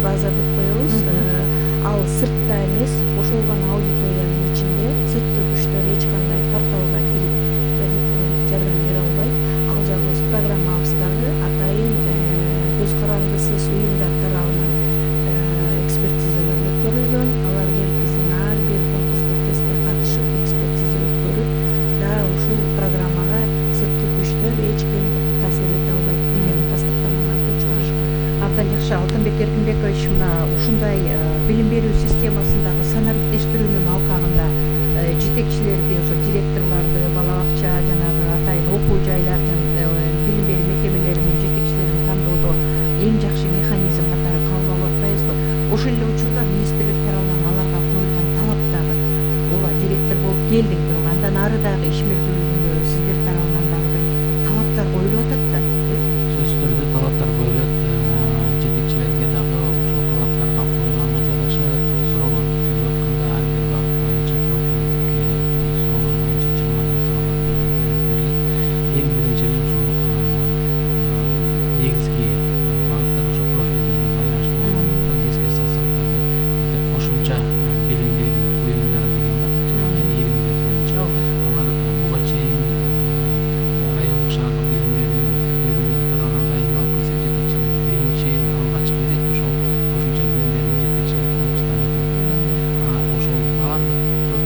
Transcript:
база деп коебуз. Ал сыртта эмес, ошолгон аудиториянын ичинде сырткы күчтөр эч кандай порталга кирип электрондук жардам бере албайт. Ал жагы өз программабыздагы атайын көз карандысыз уюмдар тарабынан экспертизалар өткөрүлгөн. Алар келип биздин ар бир конкурстук тестке катышып, экспертиза өткөрүп, да ушул программага сырткы күчтөр эч ким таасир эте албайт деген тастыктамаларды чыгарышкан. Абдан жакшы. Алтынбек Эркинбекович, мына ушундай билим берүү системасындагы санариптештирүүнүн алкагында жетекчилерди, ошо директорлорду, бала бакча, жанагы атайын окуу жайлардын билим берүү мекемелеринин жетекчилерин тандоодо эң жакшы механизм катары кабыл алып атпайбызбы? Ошол эле учурда министрлик тарабынан аларга коюлган талап дагы, ооба, директор болуп келдиң, бирок андан ары дагы ишмердүүлүгүндө сиздер тарабынан дагы бир талаптар коюлуп атат да. Сөзсүз түрдө талаптар коюлуп